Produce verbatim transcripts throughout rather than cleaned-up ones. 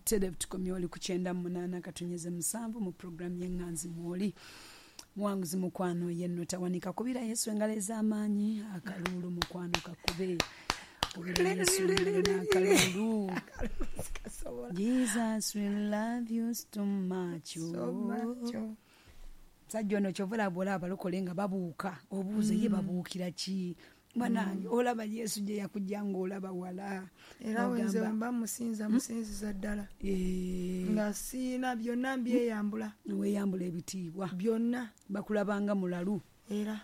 Butereevu tukomye oli ku kyenda mu munaana katunyeze musanvu mu puroguramu y'Eŋŋanzi mwoli. Muwanguzi mukwano yenno tawanika, kubira Yesu engalo ez'amaanyi, akaluulu mukwano kakube. Kubira Yesu engalo n'akaluulu. Jesus will love you so much. So much, oh. Musajja ono kyova olaba olaba abalokole nga babuuka, obuuza ye babuukira ki? Banange, olaba Yesu gye yakujja ng'olaba wala. Era wenze Ogamba, mba musinza, musinziza ddala. Eh, nga siina byonna mbyeyambula. Weeyambula ebitiibwa. Byonna. Bakulabanga mulalu. Era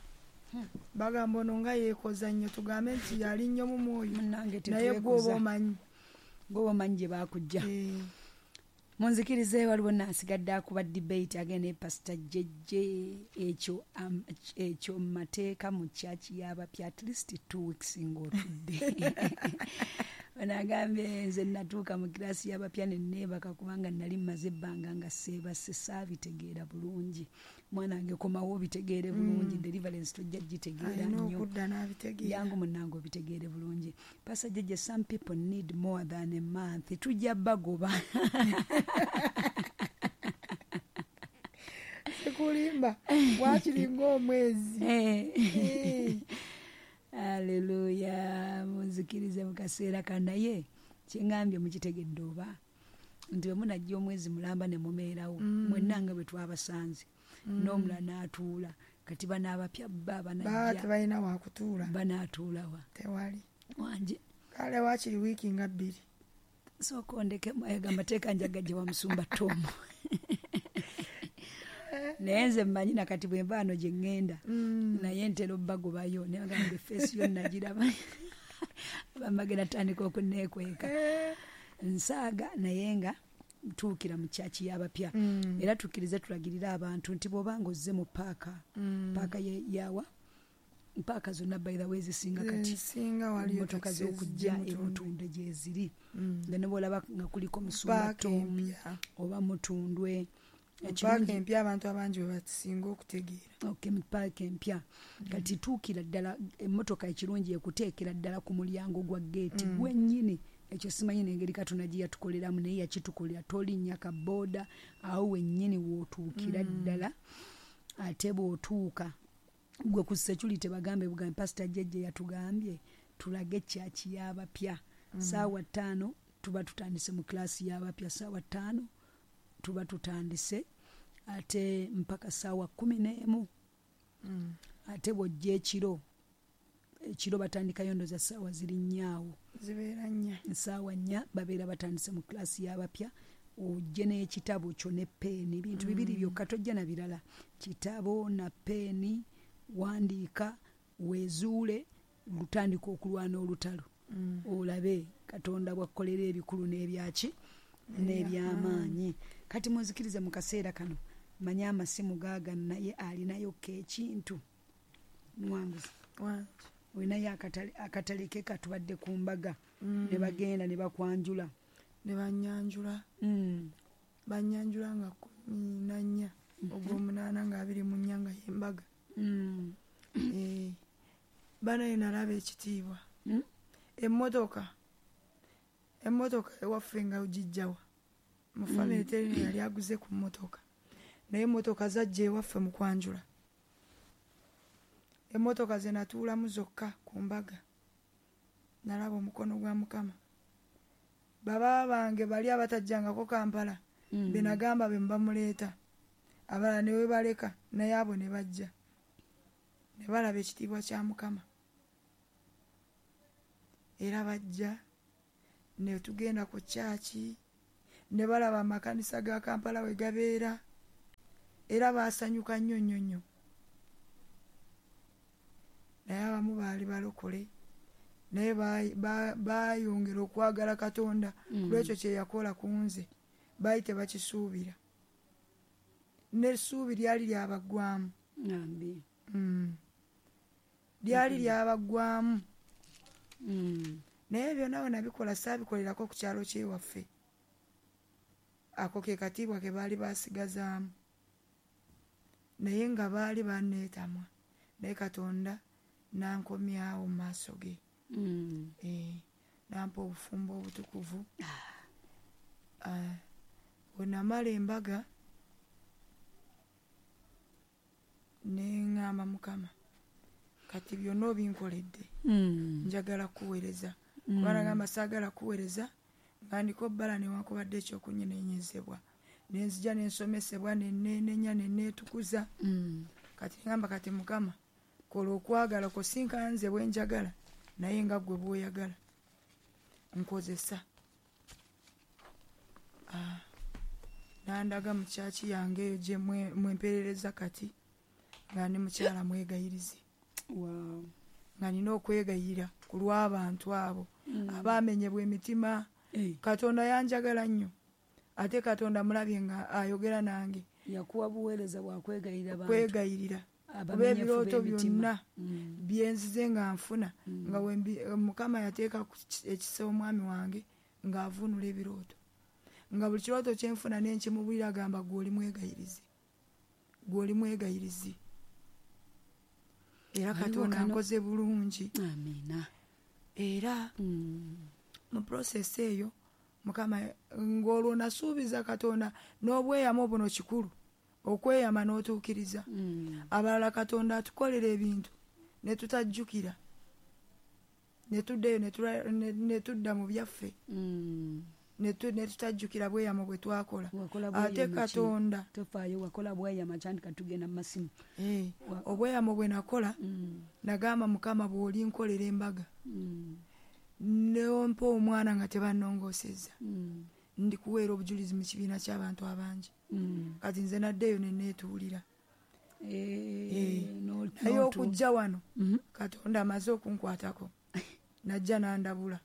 bagamba ono nga yeekoza nnyo, tugambe nti yali nnyo mu mwoyo. Munnange, naye gwe oba tetwekoza. omanyi. Gwe omanyi gye baakujja. Eh, Munzikirize, waliwo naasigadde akuba debate agenda ne Pasita Jejje. Ekyo am- ekyo mu mateeka mu kyaki y'abapya at least two weeks ng'otudde. Ono agambye, nze natuuka mu kirasi y'abapya ne neebaka kubanga nali mmaze ebbanga nga seebase, saabitegeera bulungi. Mwana wange, komawo obitegeere bulungi. Deliverance tojja gitegeera alina nnyo. Okudda n'abitegeera. Yangu munnange obitegeere bulungi. Pastor Jejje, some people need more than a month, tujja bagoba. Sikulimba, wakiri ng'omwezi. Eh. Eh. Aleluya. Munzikirize mu kaseera kano, naye kyeŋŋambye mukitegedde oba nti bwe munajja omwezi mulamba ne mubeerawo mwenna nga bwe twabasanze, n'omulala n'atuula. Kati bano abapya ba baba banajja tebalina wakutuula. Banaatuulawa? Tewali. Wanje. Kale wakiri wiiki nga bbiri. Sooka ondekemu, ayo amateeka njagajje wa musumba Tomu, naye nze mmanyi nakati bwe nva wano gye ŋŋenda, naye ntera obbagobayo naye bagamba face yo nagiraba, bambagenda tandika okunneekweka. Eh, nsaaga, naye nga tuukira mu kyaki y'abapya. Era tukkirize tulagirire abantu nti bw'obanga ozze mu paaka, paaka ye- yawa paaka zonna, by the way, zisinga kati Ezisinga waliyo emmotoka taxi z'okujja ezijja Emutundwe gyeziri, nga ne bwolaba nga kuliko musumba Paaka Tom empya. oba Mutundwe. Paaka empya abantu abangi bwe basinga okutegeera. Okay, mu paaka empya kati tuukira ddala emmotoka ekirungi ekuteekera ddala ku mulyango gwa geeti gwennyini. Ekyo simanyi n'engeri Katonda gye yatukoleramu, naye yakitukolera. Tolinnya ka booda, awo wennyini w'otuukira ddala. Ate bw'otuuka gwe ku security bagambe bugambe, Pasita Jejje yatugambye tulage kyaki y'abapya. Saawa ttaano tuba tutandise mu kilasi y'abapya, saawa ttaano tuba tutandise ate mpaka saawa kumi n'emu. Ate bw'ojja ekiro, ekiro batandikayo ndoza saawa ziri nnyaawo. Zibeera nnya. Essaawa nnya babeera batandise mu kilasi y'abapya. Ojje n'ekitabo kyo ne peeni, bintu bibiri byokka, tojja na birala, kitabo na peeni. Wandiika, weezuule, lutandika okulwana olutalo, olabe Katonda bwakkolera ebikulu n'ebyaki n'ebyamaanyi. Kati munzikirize mu kaseera kano, manye amasimu gaagano, naye alinayokko ekintu. Muwanguzi, Wangi. olinayo akatale akatale ke katubadde ku mbaga ne bagenda ne bakwanjula? Ne bannyanjula. Mm. Bannyanjula nga kumi na nnya ogw'omunaana nga abiri mu nnya nga y'embaga. Mm. Eh, banaye nalaba ekitiibwa. Mm. Emmotoka, emmotoka ewaffe nga ogijjawa mu famire, terina yali aguze ku mmotoka, naye emmotoka zajja ewaffe mu kwanjula. Emmotoka ze natuulamu zokka ku mbaga, nalaba omukono gwa Mukama. Baba bange bali abatajjangako Kampala, Mm. be nagamba be mubamuleeta, abalala ne webaleka, naye abo ne bajja ne balaba ekitiibwa kya Mukama. Era bajja ne tugenda ku kyaki ne balaba amakanisa ga Kampala we gabeera, era baasanyuka nnyo nnyo nnyo. Naye abamu baali balokole, naye ba- ba- baayongera okwagala Katonda Mm. kulwekyo kye yakola ku nze. Baali tebakisuubira, n'essuubi lyali lyabaggwamu. Ambi. Mm. lyali lyabaggwamu. Mm. Naye byonna we nabikola, saabikolerako ku kyalo kyewaffe. Ako ke katiibwa ke baali basigazaamu, naye nga baali banneetamwa, naye Katonda nankomyawo mu maaso ge. Mm. Eh, nampa obufumbo obutukuvu. Ah, bwe namala embaga ne ŋŋamba Mukama, kati byonna obinkoledde, Mm. njagala kuweereza. Mm. Kuba nagamba saagala kuweereza nga ndiko bbala newankubadde ekyokunyenenyezebwa, nenzija nensomesebwa, neneenenya, neneetukuza. Mm. Kati ngamba kati Mukama, kola okwagala kwo, si nka nze bwe njagala, naye nga ggwe bw'oyagala, nkozesa. Ah, nandaga mu kyaki yange eyo gye mwe- mwemperereza kati, nga ndi mukyala mwegayirizi. Wow. Nga nina okwegayirira ku lw'abantu abo Mm. abaamenyebwa emitima. Eh, Katonda yanjagala nnyo, ate Katonda mulabye nga ayogera nange. Yakuwa buweereza bwakwegayirira bantu. Kwegayirira kuba abamenyefu ebirooto b'emitima. byonna Mm. byenzize nga nfuna, Mm. nga wembi- Mukama yateeka ku ki- ekisa omwami wange ng'avuunula ebirooto, nga buli kirooto kyenfuna nenkimubulira, agamba gwe oli mwegayirizi, gwe oli mwegayirizi. Era Waliwo Katonda kano- nkoze bulungi. Amiina. Era Mm. mu process eyo Mukama, ng'olwo nasuubiza Katonda n'obweyamo buno, kikulu okweyama n'otuukiriza. Mm. Abalala Katonda atukolera ebintu ne tutajjukira, ne tuddayo ne tula- ne- ne tudda mu byaffe, Mm. ne tu- ne tutajjukira bweyamo bwe twakola. Wakola Ate bweyama ki? Katonda Tofaayo, wakola bweyama kyandika tugenda mu masimu. Eh, Wa- obweyamo bwe nakola, Mm. nagamba Mukama, bw'olinkolera embaga Mm. nompa omwana nga tebannongoosezza, Mm. ndikuweera obujulizi mu kibiina ky'abantu abangi. Mm. Kati nze naddeeyo ne neetuulira. Eh, Eh, no- naye n'otu- okujja wano, Mhm. Katonda amaze okunkwatako, najja n'andabula.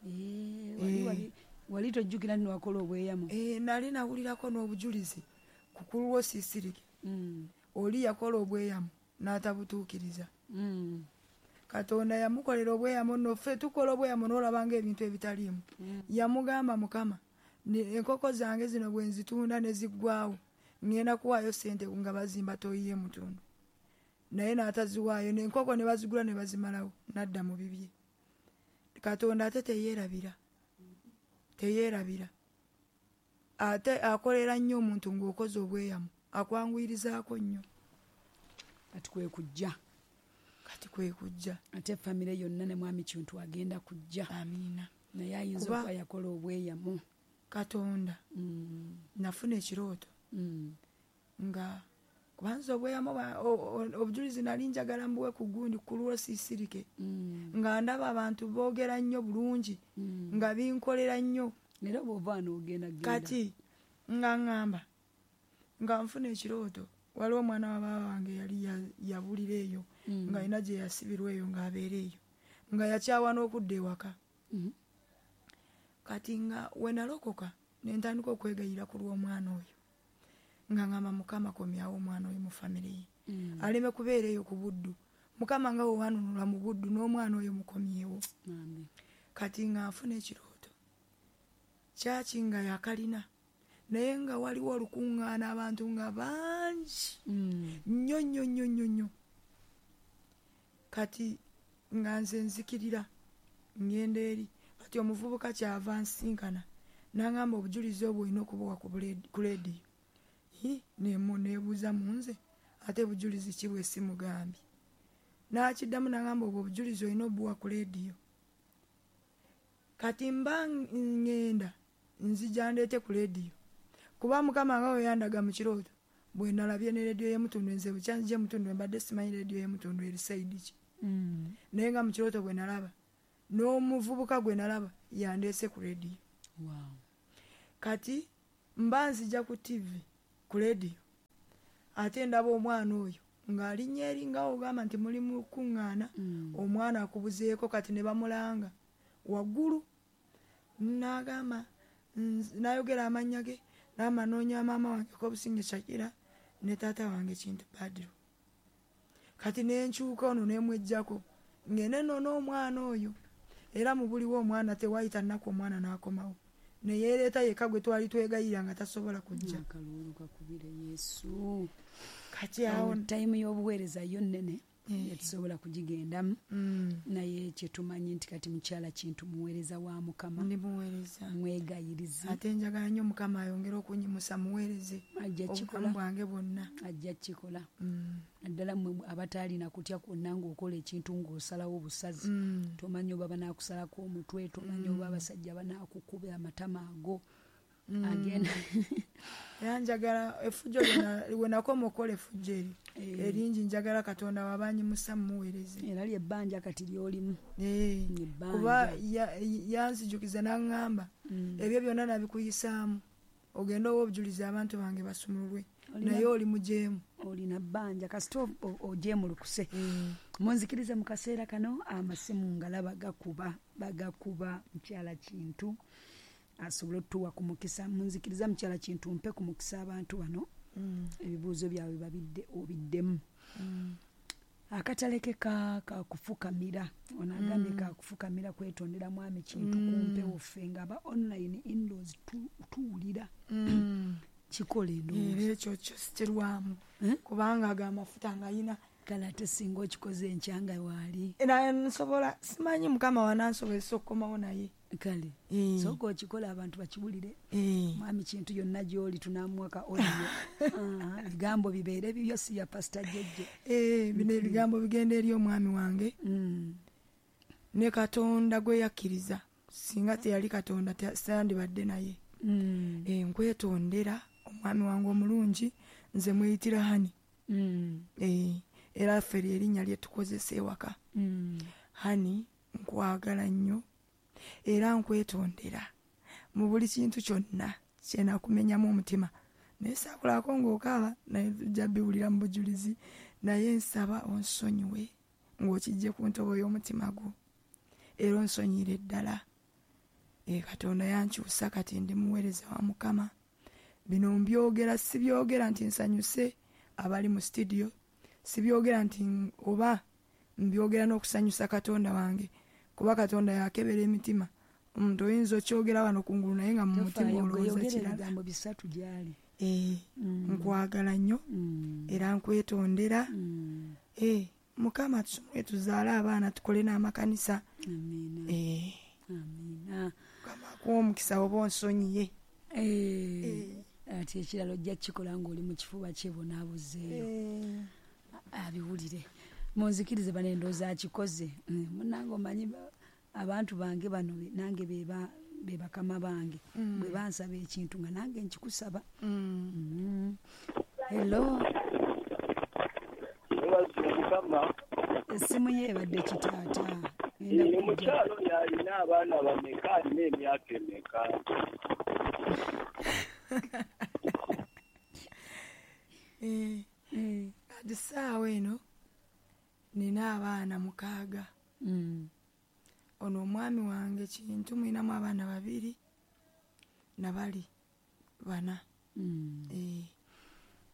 Eh, wali- Eh. wali- wali tojjukira nti wakola obweyamo? Eh, nali nawulirako n'obujulizi ku kulwo siisirike. Mm. Oli yakola obweyamo n'atabutuukiriza. Mm. Katonda yamukolera obweyamo nno, ffe tukola obweyamo n'olabanga ebintu ebitaliimu. Mm. Yamugamba, Mukama, ne- enkoko zange zino bwe nzitunda ne ziggwawo, ŋŋenda kuwaayo ssente nga bazimba toyiye mutundu, naye n'ataziwaayo, n'enkoko ne bazigula ne bazimalawo, n'adda mu bibye. Katonda ate teyeerabira, teyeerabira, ate akolera nnyo omuntu ng'okoze obweyamo, akwanguyirizaako nnyo. Kati kwe kujja. Kati kwe kujja. Ate famire yonna ne mwami Kintu agenda kujja. Amiina. Naye ayinza Kuba- okuba yakola obweyamo. Katonda, Mm. nafuna ekirooto Mm. nga kubanza obweyamo bwa- o- o- obujulizi nali njagala mbuwe ku gundi ku lwo siisirike, Mm. nga ndaba abantu boogera nnyo bulungi, Mm. nga binkolera nnyo. Era bw'ova wano ogenda genda. Kati nga ŋŋamba nga nfuna ekirooto, waliwo omwana wa baaba wange yali ya- yabulira eyo, Mm. nga alina gye yasibirwa eyo, ng'abeera eyo, nga yakyawa n'okudda ewaka. Mm. Kati nga we nalokoka ne ntandika okwegayira ku lw'omwana oyo, nga ŋŋamba Mukama, komyawo omwana oyo mu famire ye, Mm. aleme kubeera eyo ku buddu. Mukama, nga wewanunula mu buddu, n'omwana oyo mukomyewo. Bambi. Kati nga nfuna ekirooto, kyaki nga yakalina, naye nga waliwo olukuŋŋaana, abantu nga bangi Mm. nnyo nnyo nnyo nnyo nnyo. Kati nga nze nzikirira ŋŋenda eri, kati omuvubuka kyava nsinkana n'aŋŋamba, obujulizi obwo olina okubuwa ku buledi- ku leediyo. Hi, nemu neebuuza mu nze, ate bujulizi ki bwe simugambye? N'akiddamu n'aŋŋamba, obwo obujulizi olina obuwa ku leediyo. Kati mba ŋŋenda nzija ndeete ku leediyo, kuba Mukama nga we yandaga mu kirooto, bwe nalabye ne leediyo y'emutundu. Nze bukyanzija emutundu mbadde simanyi leediyo y'emutundu eri side ki, Mm. naye nga mu kirooto bwe nalaba n'omuvubuka gwe nalaba yandeese ku leediyo. Wow. Kati mba nzija ku T V, ku leediyo, ate ndaba omwana oyo ng'alinnya eri, nga ogamba nti muli mu kuŋŋaana, Mm. omwana akubuzeeko. Kati ne bamulanga waggulu, n'agamba nz- n'ayogera amannya ge, n'amanoonya maama wange Kobusinge Shakira ne taata wange Kintu Badiro. Kati nenkyuka ono nemwejjako, ngende nno n'omwana oyo, era mu buliwo omwana tewayita nnaku omwana n'akomawo, neyeereeta yekka gwe twali twegayirira nga tasobola kujja. Akaluulu kakubire Yesu. Kati awo Awo tayimu y'obuweereza yo nnene. Tetusobola kugigendamu. Mm. Naye kyetumanyi nti kati mukyala Kintu muweereza wa Mukama. Ndi muweereza. Mwegayirizi. Ate njagala nnyo Mukama ayongere okunyimusa muweereze. Ajja kikola. Obulamu bwange bwonna. Ajja kikola. Mm. Naddala mmwe abataalina kutya kwonna ng'okola ekintu ng'osalawo obusazi. Mm. Tomanyi oba banaakusalako omutwe, tomanyi oba abasajja banaakukuba amatama ago. Mm. Agenda. Era njagala effujjo lyonna we nakoma okukola effujjo eri. Eh. Eringi njagala Katonda wabanyimusa mmuweereze. Era lyebbanja kati ly'olimu. Eh. Ebbanja. Kuba ya-, yanzijukiza n'aŋŋamba, Mm. ebyo byonna nabikuyisaamu. Ogende owe obujulizi abantu bange basumululwe. Olina Naye oli mujeemu. Olina bbanja kasita o-, o-, ojeemulukuse. Mm. Munzikirize mu kaseera kano amasimu ngalaba gakuba, bagakuba mukyala Kintu asobole otuwa ku mukisa. Munzikiriza mukyala Kintu mpe ku mukisa abantu bano. Mm. Ebibuuzo byabwe babidde obiddemu. Mm. Akatale ke ka, ka kufukamira. Ono agambye Mm. ka kufukamira kwetondera mwami Kintu Mm. ku mpewo ffe nga aba online indoors tu-, tuwulira. Mm. Kikola endowooza. Era ekyo kyo sikirwamu. Eh? Kubanga ago amafuta ng'ayina. Kale ate singa okikoze enkya nga waali. Era nsobola, simanyi Mukama wanansobozesa okukomawo naye. Kale. Eh. Sooka okikola abantu bakiwulire. Eh. Mwami Kintu yonna gy'oli tunaamuwa ka audio. Ah, ebigambo bibeere bibyo si ya Pastor Jejje. Eh, bino Mm. ebigambo bigenda eri omwami wange. Mm. Ne Katonda gwe yakkiriza. Singa teyali Katonda, te-, sandibadde naye. Mm. Eh, nkwetondera omwami wange omulungi, nze mweyitira Hani. Mm. Eh, era ffe lye erinnya lye tukozesa ewaka. Mm. Hani, nkwagala nnyo. Era nkwetondera mu buli kintu kyonna kye nakumenyamu omutima. Naye saakulako ng'okaaba, naye tujja biwulira mu bujulizi. Naye nsaba onsonyiwe ng'okijje ku ntobo y'omutima gwo. Era onsonyire ddala. Eh, Katonda yankyusa kati ndi muweereza wa Mukama. Bino mbyogera, sibyogera nti nsanyuse abali mu studio. Sibyogera nti oba mbyogera n'okusanyusa Katonda wange. Kuba Katonda yakebera emitima. Omuntu oyinza okyogera wano kungulu naye nga mu mutima Tofaayo, olowooza gwe yogera kirala. ebigambo bisatu gy'ali. Eh, Mm. nkwagala nnyo. Mm. Era nkwetondera. Mm. Eh, Mukama tusomere tuzaale abaana tukole n'amakanisa. Amiina. Eh. Amiina. Mukama akuwe omukisa oba onsonyiye. Eh. Eh. Ate ekirala ojja kukikola ng'oli mu kifuba kye bonaabuzeeyo. Eh. Abiwulire. Munzikirize bano endowooza akikoze. Mm, munnange omanyi ba-, abantu bange bano be-, nange be ba-, be bakama bange. Mm. Bwe bansaba ekintu nga nange nkikusaba. Mm. Mm. Hello. Mwebaze Mukama. Essimu ye ebadde kitaata. Ngenda Ye kujja. mukyalo oyo alina abaana bameka, alina emyaka emeka? Eh. Eh. Kati ssaawa eno nina abaana mukaaga. Mm. Ono omwami wange Kintu mulinamu abaana babiri na bali bana. Mm. Eh.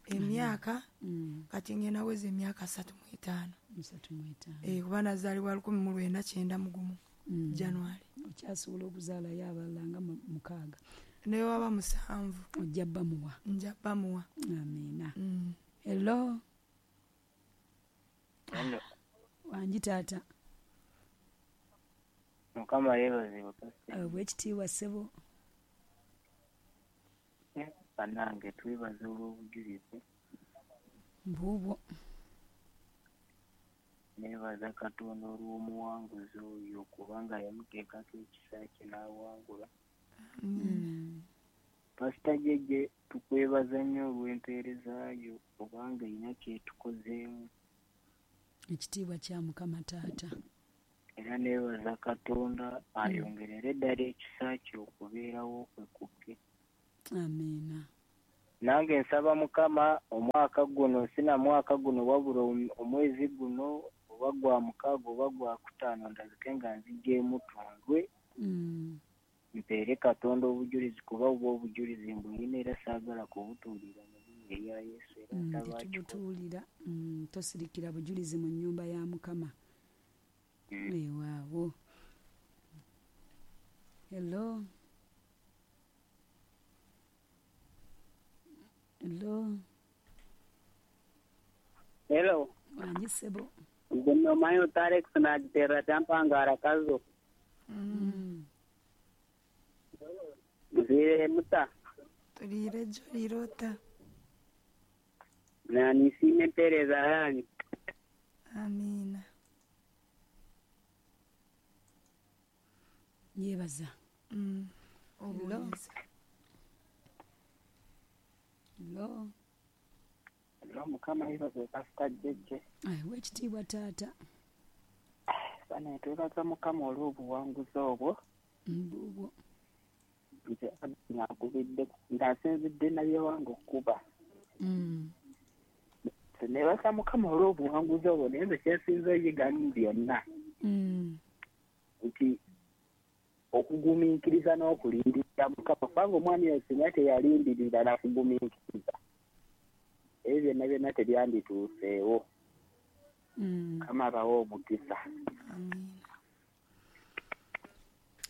Emyaka, Mm. kati ngenda weza emyaka asatu mu etaano. Asatu mu etaano. Eh, kuba nazaalibwa lukumi mu lwenda kyenda mu gumu, Mm. January. Okyasobola okuzaalayo abalala nga mu-, mukaaga. Ne waba musanvu. Ojja bamuwa. Nja bamuwa. Amiina. Mm. Hello. Hello. Wangi taata. Mukama yeebazibwe, Pastor. Eh, bwekitiibwa ssebo. Eh, bannange twebaza olw'obujulizi. Mbuubwo. Neebaza Katonda olw'omuwanguzi oyo kubanga yamuteekako ekisa kye n'awangula. Mm. Pastor Jejje, tukwebaza nnyo olw'empeereza yo kubanga erina kyetukozeemu. Ekitiibwa kya Mukama taata. Era neebaza Katonda ayongerere ddala ekisa kye okubeerawo kwe kukke. Amiina. Nange nsaba Mukama omwaka guno, sina mwaka guno wabula om-, omwezi guno oba gwa mukaaga oba gwa kutaano ndabike nga nzigyemu tundwe. Mm. Mpeere Katonda obujulizi kuba obwo obujulizi mbulina era saagala kubutuulira mu linnya erya Yesu era Mm, nsaba akikole. tetubutuulira. Mm, tosirikira bujulizi mu nnyumba ya Mukama. Mm. Weewaawo. Hello. Hello. Hello. Wangi ssebo. Nze omanyi Alex nagiterera kyampangara kazo. Mm. Nziire muta. Tuliire jolirota. Na nisiime empeereza yanyu. Amiina. Yebaza. Mm. Obuweereza. Hello. Hello, Mukama yeebazibwe Pastor Jjejje. Aweebwe ekitiibwa taata. Bane twebaza Mukama olw'obuwanguzi obwo. Mbubwo. Nze nakubidde ng'asinzidde nabyewange okukuba. Mm. Nebaza Mukama olw'obuwanguzi obwo naye nze kyensinze oyiga mu byonna. Mm. Nti okugumiikiriza n'okulindirira Mukama kubanga omwami oyo singa teyalindirira nakugumiikiriza ebyo byonna byonna tebyandituuseewo. Mm. Mukama abawe omukisa. Amiina.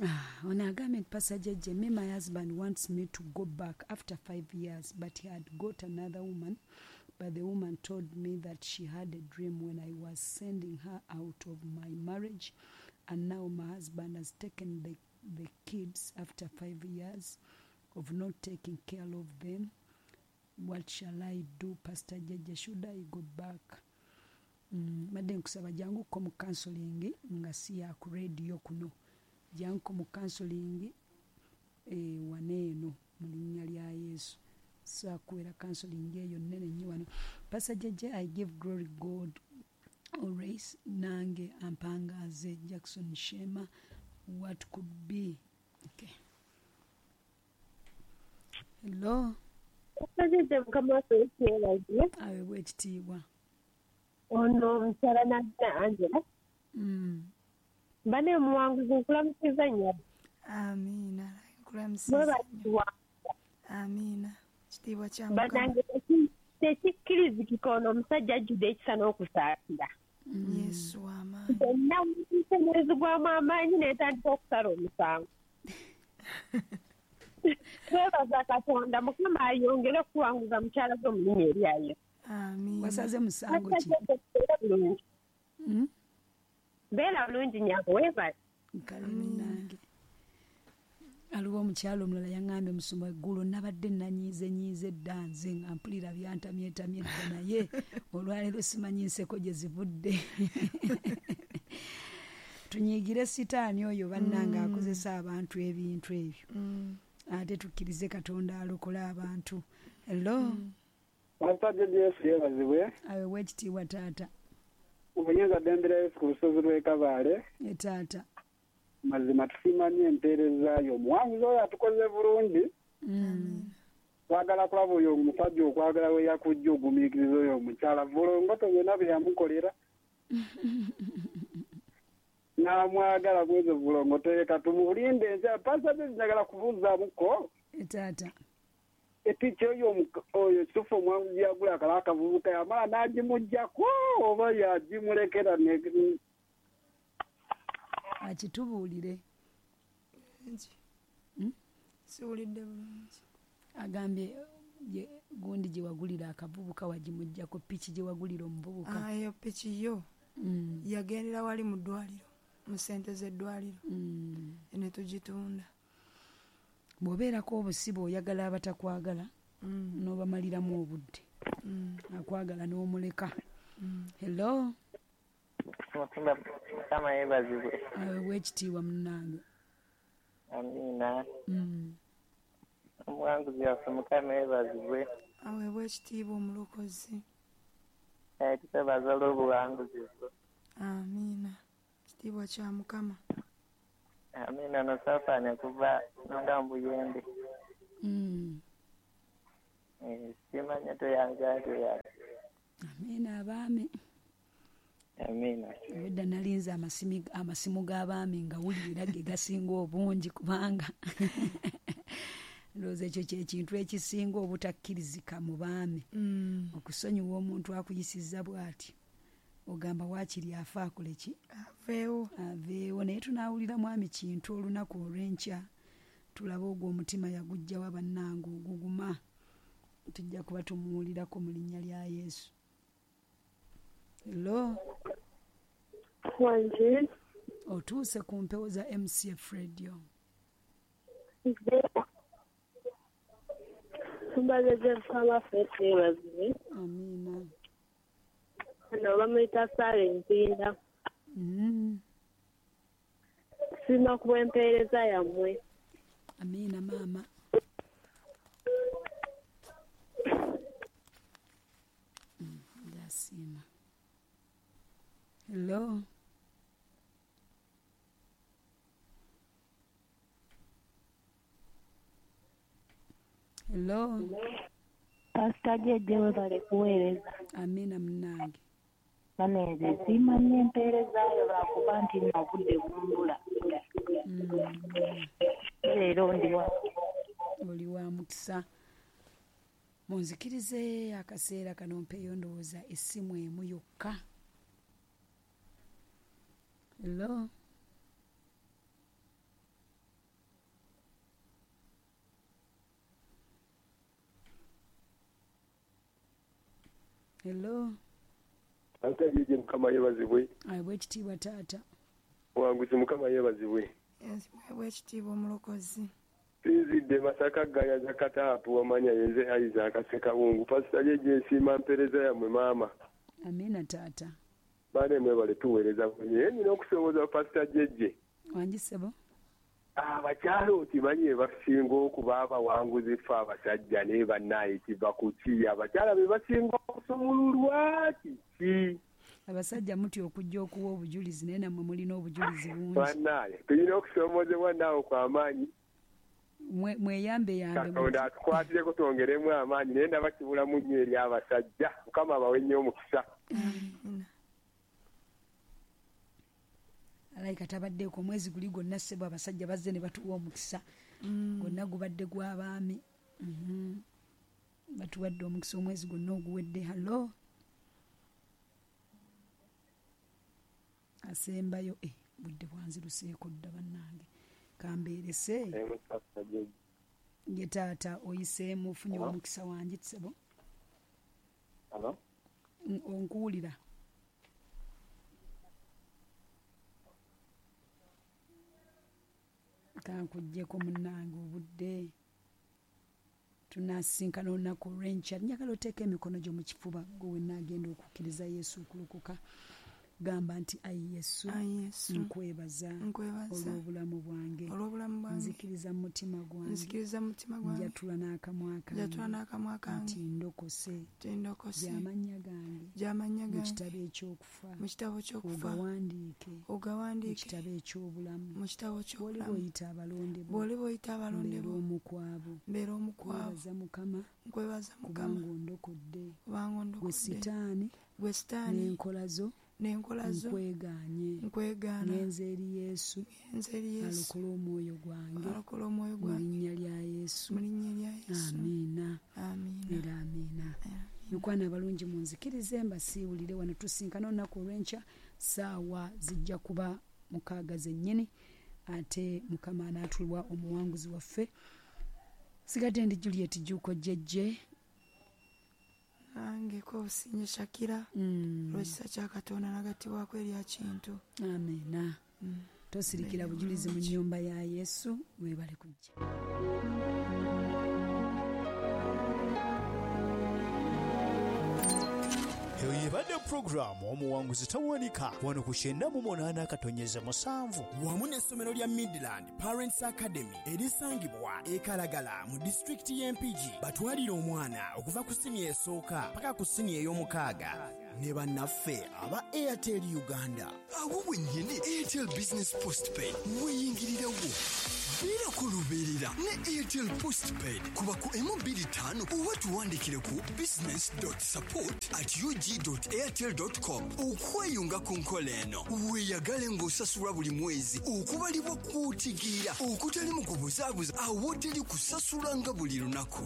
Ah, ono agambye nti Pastor Jjejje, me my husband wants me to go back after five years but he had got another woman but the woman told me that she had a dream when I was sending her out of my marriage and now my husband has taken the, the kids after five years of not taking care of them. What shall I do, Pastor Jjejje? Should I go back? Mm, madde nkusaba janguko mu counseling nga si ya ku radio kuno. Janguko mu counseling eh, waneeno mu linnya lya Yesu. Saakuwera counseling eyo nnene nnyo wano. Pastor Jjejje, I give glory God always. Nange ampangaze Jackson Shema. What could be? Okay. Hello. Pastor Jjejje, Mukama waffe Yesu yeebazibwe. Aweebwe ekitiibwa. Ono mukyala Nagina Angela. Mm. Bane omuwanguzi nkulamusiza nnyo. Amiina. Nkulamusiza nnyo. Mwebazibwa. Amiina. Kitiibwa kya Mukama. Bannange tekikkirizikika ono omusajja ajjudde ekisa n'okusaasira. Yesu w'amaanyi. Byonna nzigwamu amaanyi n'etandika okusala omusango. Twebaza Katonda Mukama ayongere okuwanguza mukyala gwe mu linnya erya Yesu. Amiina. Wasaze musango ki? Bulungi. Mm? Beera bulungi nnyabo, weebale. Kale munnange. Aliwo omukyala omulala yaŋŋambye musumba eggulo nabadde nanyiize nyiize dda nze nga mpulira byantamyetamye dda naye olwaleero simanyi nseko gye zivudde. Tunyiigire sitaani oyo bannange akozesa abantu ebintu ebyo. Mm. Ate tukkirize Katonda alokole abantu. Hello. Pastor Jjejje Yesu yeebazibwe. Aweebwe ekitiibwa taata. Obuyinza ddembe lya Yesu ku lusozi lw'e Kabaale. Ye taata. Mazima tusiima nnyo empeereza yo. Omuwanguzi oyo atukoze bulungi. Mm. Twagala kulaba oyo omusajja okwagala we yakujja ogumiikiriza oyo omukyala vulongoto byonna bye yamukolera. N'amwagala bwezo vulongoto leka tumulinde enkya. Pastor Jjejje njagala kubuuzaamuko. Ye taata. Epiki oyo oyo kituufu omuwanguzi yagula akala akavubuka yamala n'agimuggyako oba yagimulekera ne akitubuulire. Mm? Siwulidde bulungi. Agambye gundi gye wagulira akavubuka wagimuggyako piki gye wagulira omuvubuka. Ah, eyo piki yo. Mm. Yagendera wali mu ddwaliro, mu ssente z'eddwaliro. Mm. Ne tugitunda. Bw'obeerako obusibe oyagala abatakwagala Mm. n'obamaliramu obudde. Mm. Akwagala n'omuleka. Mm. Hello. Mutumba Mukama yeebazibwe. Aweebwe ekitiibwa munnange. Amiina. Mm. Omuwanguzi waffe Mukama yeebazibwe. Aweebwe ekitiibwa omulokozi. Eh, tukwebaza olw'obuwanguzi bwo. Amiina. Kitiibwa kya Mukama. Amiina. No Safaani kuva nonga mu Buyembe. Mm. Eh, simanya toyanja toyanja. Amiina abaami. Amiina. Obwedda nalinze amasimi amasimu g'abaami nga wulira ge gasinga obungi kubanga ndowooza ekyo kye kintu ekisinga obutakkirizika mu baami. Mm. Okusonyiwa omuntu akuyisizza bw'ati ogamba waakiri afa akole ki? Aveewo. Aveewo. Naye tunaawulira mwami Kintu olunaku olw'enkya tulabe ogwo omutima yaguggyawa bannange oguguma. Tujja kuba tumuwulirako mu linnya lya Yesu. Hello. Wangi. Otuuse ku mpewo za M C F Radio. Mbaze mukama ffe yeebazibwe. Amiina. Ono bamuyita Sara Empinda. Mm. Nsiima ku bw'empeereza yammwe. Amiina maama. Mm, ndasiima. Hello. Hello. Pastor Jeje webale kuweereza. Amiina munnange. Banange nsiima nnyo empeerezaayo lwakuba nti nno obudde bumbula. Mm. Leero ndi wa Oli wa mukisa. Munzikirize akaseera kano mpeeyo ndowooza essimu emu yokka. Hello. Hello. Ate Jeje Mukama yeebazibwe. Aweebwe ekitiibwa taata. Wanguzi Mukama yeebazibwe. Aweebwe ekitiibwa omulokozi. Sinzidde Masaka Gayaza Kataapu wamanya yenze Isaac Ssekabungu. Pastor Jeje nsiima mpeereza yammwe maama. Amiina taata. Baane mwebale tuweereza bunye. Nina okusoomoza Pastor Jeje. Wangi ssebo. Abakyala okimanyi be basinga okuba abawanguzi ffe abasajja naye bannaaye kiva ku ki? Abakyala be basinga okusumululwa kiki? Abasajja mutya okujja okuwa obujulizi naye nammwe mulina obujulizi bungi. Bannaaye tulina okusomoozebwa naawe kw'amaanyi. Mweyambe yambe. Katonda atukwatireko twongeremu amaanyi naye ndaba kibulamu nnyo eri abasajja. Mukama abawe nnyo omukisa. Alayika tabaddeeko omwezi guli gwonna ssebo abasajja bazze ne batuwa omukisa. Gwonna gubadde gw'abaami. Mhm. Batuwadde omukisa omwezi gwonna oguwedde. Hallo. Asembayo eh budde bwanziruseeko dda bannange. Kambeerese. Ye taata oyiseemu ofunye omukisa wangi ssebo. Hello. Onkuwulira. Kankuggyeko munnange obudde. Tunasinkana olunaku olw'enkya. Njagala oteeke emikono gyo mu kifuba gwe wenna agenda okukkiriza Yesu okulokoka. Gamba nti ayi Yesu, nkwebaza olw'obulamu bwange. Nzikiriza mu mutima gwange. Njatula n'akamwa kange nti ndokose. Gy'amannya gange mu kitabo eky'okufa ogawandiike mu kitabo eky'obulamu. Bw'oliba oyita abalonde bo mbeera omu ku abo. Nkwebaza Mukama kubanga ondokodde. Gwe Sitaani n'enkola zo nkwegaanye. Ngenze eri Yesu alokole omwoyo gwange mu linnya lya Yesu. Amiina era amiina. Mikwano abalungi munzikirize mbasiiwulire wano. Tusinkana olunaku olw'enkya ssaawa zijja kuba mukaaga zennyini ate Mukama anaatulwa omuwanguzi waffe. Sigadde ndi Juliet Jjuuko Jjejje. Nange ko Businge Shakira olw'ekisa kya Katonda nagattibwako erya Kintu. Amiina. Tosirikira bujulizi mu nnyumba ya Yesu. Weebale kujja. Eyo yebadde pulogulaamu omuwanguzi tawanika wano ku kyenda mu munaana akatonyeza musanvu wamu n'essomero lya Midland Parents Academy erisangibwa e Kalagala mu disitulikiti y'e Mpigi. Batwalire omwana okuva ku siniya esooka paka ku siniya ey'omukaaga ne bannaffe aba Airtel Uganda. Awo wennyini Airtel Business Postpaid weeyingirirawo. Beera ku lubeerera ne Airtel Postpaid kuba ku emu bbiri ttaano oba tuwandikire ku business dot support at u g dot airtel dot com okweyunga ku nkola eno. Weeyagale ng'osasulwa buli mwezi okubalibwa kw'otegeera okutali mu kubuzaabuza awoteri kusasulanga buli lunaku.